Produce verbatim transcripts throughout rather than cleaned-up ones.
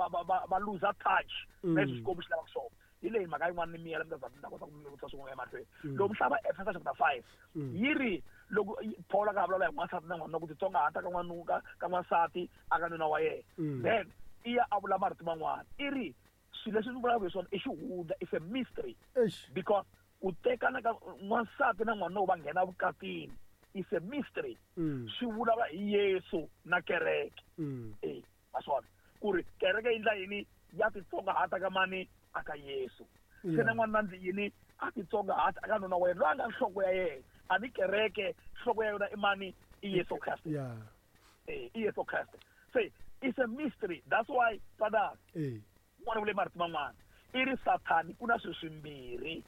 va va va va lose touch Mm. na leswi Xikwembu xi lavaka swona. Hi leyi mhaka yin'wana ni miyela mi ta za mi ta kota ku mi vutisa swin'wana emahlweni. Mm. Loko mi hlaya Efesa chapter five, Mm. yi ri loko Paul a ka vulavula hi n'wansati na n'wanuna ku titsongahata ka n'wanuna ka ka n'wansati a ka nuna wa yena. Mm. Then i ya a vula marito man'wana, i ri swilo leswi ni vulaka hi swona i xihundla, it's a mystery. Eish. Because ku tekana ka n'wansati na n'wanuna va nghena vukatini is a mystery. Mm. Swi vulavula hi Yesu na kereke. Mm. Eh, maswona ku ri kereke yi endla yini, ya titsongahata ka mani, a ka Yesu. Se Yeah. na n'wanuna ndzi yini, a titsongahata aka nuna wa yena loyi a nga nhloko ya yena. A ni kereke nhloko ya yona i mani, i Yesu Kreste. Yeah. Eh, i Yesu Kreste. Se it's a mystery, that's why twanana Eh. n'wana vule marito man'wana, i ri Sathani ku na swilo swimbirhi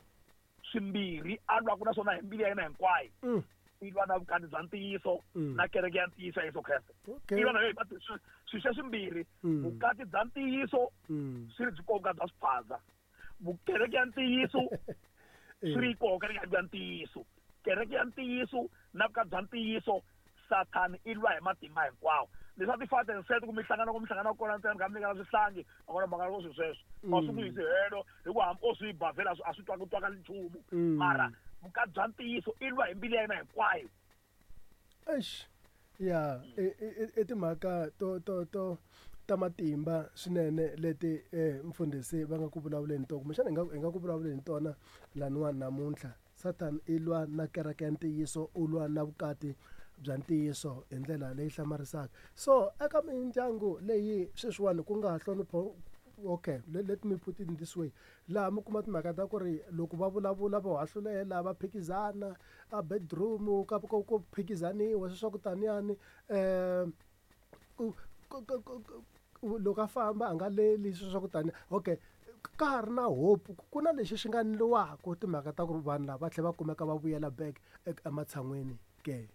swimbirhi a lwaka na swona hi mbilu ya yena hinkwayo. Mm. I lwa na vukati bya ntiyiso Mm. na kereke ya ntiyiso ya Yesu Kreste. Okay. I lwa na yo hi swilo swa swimbirhi, Mm. vukati bya ntiyiso Mm. swi ri byi koka bya swiphaza, vukereke ya ntiyiso swi ri koka kereke ya ntiyiso, kereke ya ntiyiso na vukati bya ntiyiso. Sathani i lwa hi matimba hinkwawo. Leswi a ti fata and set ku mi hlangana ku mi hlangana kona ntsena mi kha mi nyikana swihlangi, a kona mhaka yo swilo sweswo a swi ku yisi helo, hikuva hambi o swi ba vhela a swi twaka twakali nchumu. Mm. Mara vukati bya ntiyiso i lwa hi mbilu ya yena hinkwayo. Eish. Ya, i i timhaka to to to ta matimba swinene leti eh mfundhisi va nga ku vulavuleni tona, kumbexana hi nga hi nga ku vulavuleni tona laniwani namuntlha. Satan i lwa na kereke ya ntiyiso, u lwa na vukati bya ntiyiso hi ndlela leyi hlamarisaka. So eka mindyangu leyi sweswiwani ku nga hlonipho, okay, let, let me put it in this way, laha mi kuma timhaka ta ku ri loko va vulavula va hahlulela, va phikizana a bedroom, ka ku ku phikizaniwa sweswo ku taniyani, eh ku loko a famba a nga leli sweswo ku tani. Okay, ka ha ri na hope, ku na lexi xi nga endliwaka timhaka ta ku ri vanhu lava va tlhela va kumeka va vuyela back ematshan'weni ke?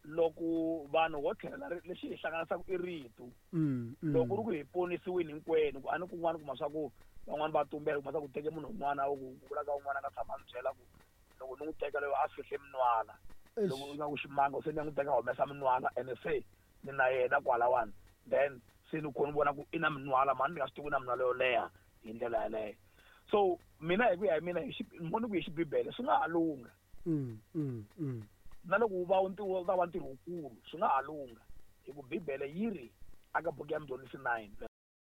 Loko vanhu ho tlhela lexi hi hlanganisaka i rito. Mm, mm. Loko ri ku hi ponisiwini hinkwenu, ku a ni kun'wana kuma swa ku van'wani va tumbela, kuma swa ku teke munhu un'wana ku vula ka un'wana a nga tshama a ni byela ku loko ni n'wi teka loyi a fihle minwala, loko Eish. nga ku ximanga se ni ya n'wi teka humesa minwala ene se ni na yena kwalawani, then se ni kho ni vona ku i na minwala mani ni nga swi tivi ku na minwala yo leha hi ndlela yaleyo. So mina hi ku ya hi mina hi xi ni vona ku hi xibibele swi nga ha lungha. Mm, mm, mm. Na loko wu va wu wu ta va ntirho wukulu swi nga ha lungha, hi ku bibele yi ri aka buku ya Mudyondzisi nine